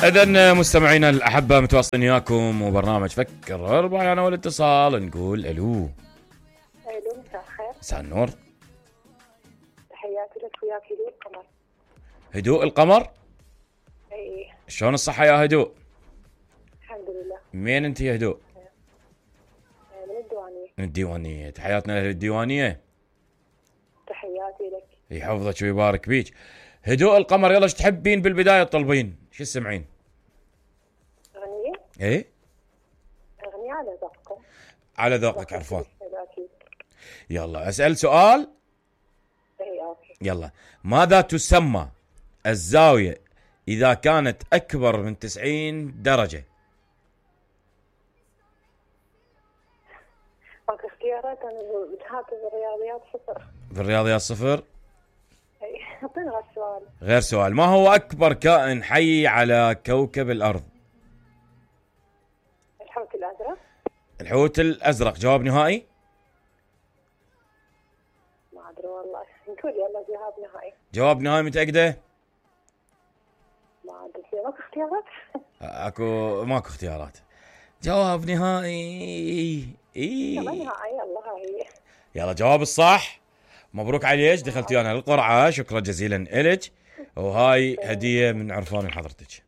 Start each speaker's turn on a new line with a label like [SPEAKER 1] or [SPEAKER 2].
[SPEAKER 1] إذن مستمعينا الأحبة متواصلين وياكم وبرنامج فكر أربعة أنا والاتصال نقول ألو.
[SPEAKER 2] الو مساء الخير.
[SPEAKER 1] مساء النور.
[SPEAKER 2] تحياتي لك وياك هدوء القمر.
[SPEAKER 1] هدوء القمر؟
[SPEAKER 2] اي
[SPEAKER 1] شلون الصحة يا هدوء؟
[SPEAKER 2] الحمد لله.
[SPEAKER 1] مين أنت يا هدوء؟
[SPEAKER 2] من الديوانية.
[SPEAKER 1] من الديوانية، تحياتنا لأهل الديوانية.
[SPEAKER 2] تحياتي لك.
[SPEAKER 1] يحفظك ويبارك بيك. هدوء القمر، يلا ايش تحبين بالبداية تطلبين؟ شو تسمعين؟
[SPEAKER 2] أغنية؟
[SPEAKER 1] ايه؟
[SPEAKER 2] أغنية على ذوقكم.
[SPEAKER 1] على ذوقك عرفان.
[SPEAKER 2] أكيد.
[SPEAKER 1] يلا أسأل سؤال.
[SPEAKER 2] اي اوكي.
[SPEAKER 1] يلا، ماذا تسمى الزاوية إذا كانت أكبر من 90 درجة؟
[SPEAKER 2] ماكو اختيارات، أنا بتهاتف بالرياضيات صفر.
[SPEAKER 1] بالرياضيات صفر؟
[SPEAKER 2] اي اعطيني غير سؤال.
[SPEAKER 1] غير سؤال. ما هو أكبر كائن حي على كوكب الأرض؟
[SPEAKER 2] الحوت الأزرق.
[SPEAKER 1] الحوت الأزرق جواب نهائي؟
[SPEAKER 2] ما أدري والله، نقول يلا جواب نهائي.
[SPEAKER 1] جواب نهائي متأكدة؟
[SPEAKER 2] ما أدري، ماكو اختيارات.
[SPEAKER 1] ماكو اختيارات. جواب نهائي.
[SPEAKER 2] يلا نهائي، يلا هاي.
[SPEAKER 1] يلا جواب الصح. مبروك عليك، دخلتي انا القرعة. شكرا جزيلا إلك، وهاي هدية من عرفان لحضرتك.